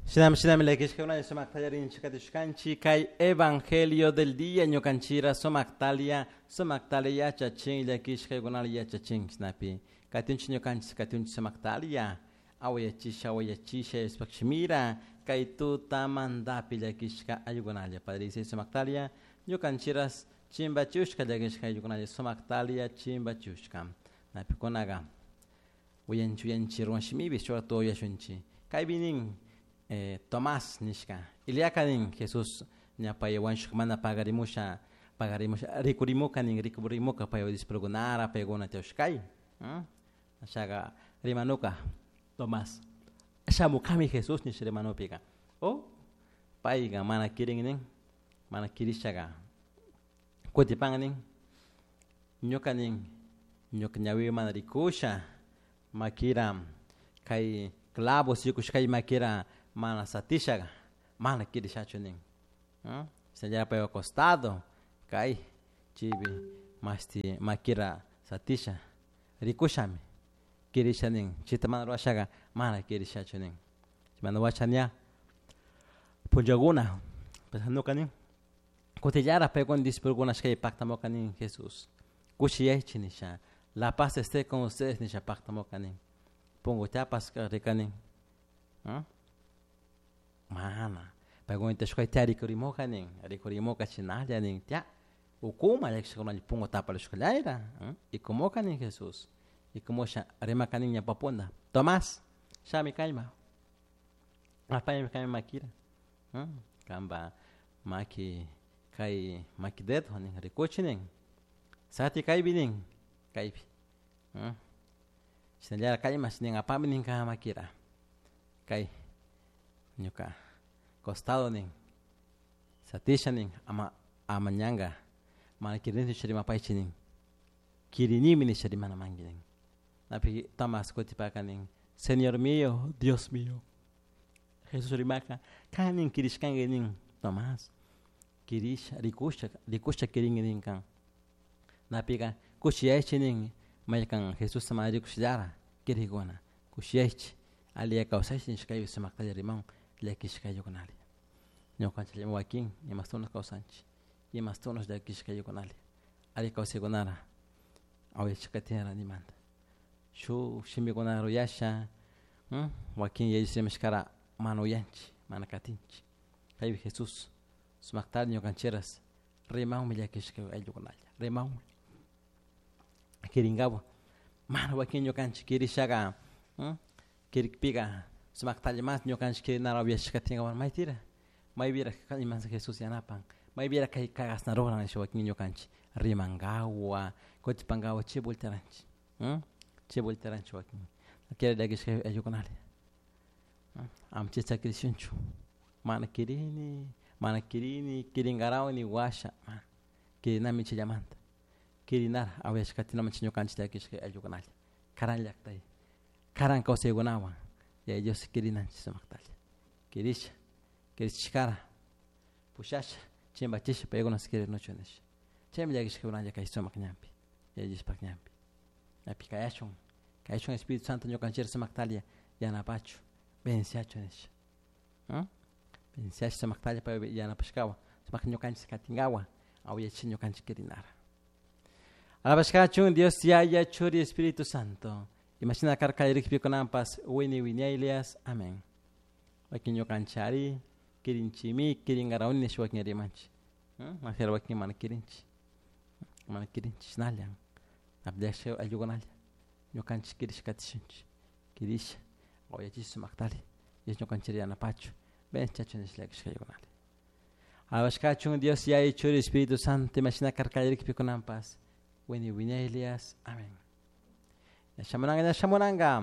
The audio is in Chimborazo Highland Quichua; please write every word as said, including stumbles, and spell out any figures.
Shinami shinami llakishkakuna sumaktalia rinchik kay evangelio del día ñukanchira sumaktalia sumaktalia yachachin llakishkaykunala yachachin shinapi katinchik ñukanchik katinchik sumaktalia awayachisha awayachisha Diospaj shimira kay tutamantapi llakishka ayllukunalla Padre sumaktalia ñukanchiras chimbachushka llakishka ayllukunalla sumaktalia chimbachushka napikunaqa uyanchik uyanchik ruwan shimipi shuk uyashunchik kaypi nin eh, Tomás nishka Iliaka nin Jesús ña pay wañushka mana pagarimusha pagarimusha rikurimuka nin rikurimuka pay discipulukunara paykuna tiyashkay ashaga rimanuka Tomás shamukami Jesús nish rimanupika o payka mana kirin nin mana kirishaga kutipan nin ñuka nin ñuka ñawiwan mana rikusha makira kay clavos yukushkay makira mana satishaga mana kirishachu nin shinallara paypa costado kay chaypi mashti makira satisha rikushami kirisha nin chayta mana rurashaga mana kirishachu nin chaymanta washa ña punllakuna nuka nin kutillara paykuna discipulokuna kay paktamuka nin Jesús kushiyaychik nisha la paz esté con ustedes nisha paktamuka nin punkutapas rika nin mana paykuna tiyashkay tiya rikurimuka nin rikurimuka chinalla nin tiya ukuma llakishkakunalla punku taparishkallayra ikumuka nin Jesús ikumusha rimaka nin ñawpapunda Tomás shami kayma apaymi kayma makira kanpa maki kay maki dedo nin rikuchi nin sati kaypi nin kaypi shinallara kaymash nin apami nin kan makira kay ñuka costado nin satisha nin ama ama ñanka mana kirini rimapaychik nin kirinimi nisha rimana manki nin napi Tomás kutipaka nin Señor mío, Dios mío. Jesús rimaka kan nin kirishkanki nin Tomás kirisha rikusha rikusha kirinki nin kan napika kushiyaychik nin maykan Jesusta mana rikushallara kirikuna kushiyaychik alli kawsaychik nishka kaypi sumaktalla rimawan llakishka ayllukunalla ñukanchik wakin imastunas kawsanchik imastunas llakishka ayllukunalla alli kawsaykunara awayachik nimanta shuk shimikunata rurasha wakin yaya rimashkara mana uyanchik mana katinchik kaypi Jesús sumaktalla ñukanchikras rimanmi llakishka ayllukunalla rimanmi kirinkawan mana wakin ñukanchik kirishaga kirikpika sumaktalla mas ñukanchik kirinara uyashka tinkawan maytira maypira ima Jesús yanapan maypira kay kashna ruran nisha wakin ñukanchik rimankawa kutipankawa chay voltearanchik chay voltearanchik wakin kira llakishka ayllukunalla ama chay sakirishunchu mana kirini mana kirini kirinkarawan washa mana kirinami chayllamanta kirinara awayashka katinamanchik ñukanchik llakishka ayllukunalla karan llaktay karan kawsaykunawan Yaya Dios kirinanchik sumaktalla kirisha kirishkara pushasha chimbachisha paykuna kirinuchun nisha chaymi llakishkakunalla kay sumak ñanpi Yaya Diospak ñanpi api kayashun kayashun Espíritu Santo ñukanchik sumaktalla yanapachu venciachun nisha venciash sumaktalla pay yanapashkawan sumak ñukanchik katinkawan awayachik ñukanchik kirinara alabashkachun Dios Yaya Churi Espíritu Santo imashina karka rikpikunampas wini wiñaylias amén wakin ñukanchari kirinchimi kirinkarawni nisha wakin rimanchik majera wakin mana kirinchik mana kirinchik shinalla llakishka ayllukunalla ñukanchik kirisha katishunchik kirisha awayachish sumaktalla Dios ñukanchik yanapachu venciachun nisha llakishka ayllukunalla alabashkachun Dios Yaya Churi Espíritu Santo imashina karka rikpikunampas wini wiñaylias amén. Ña shamunanga ña shamunanga.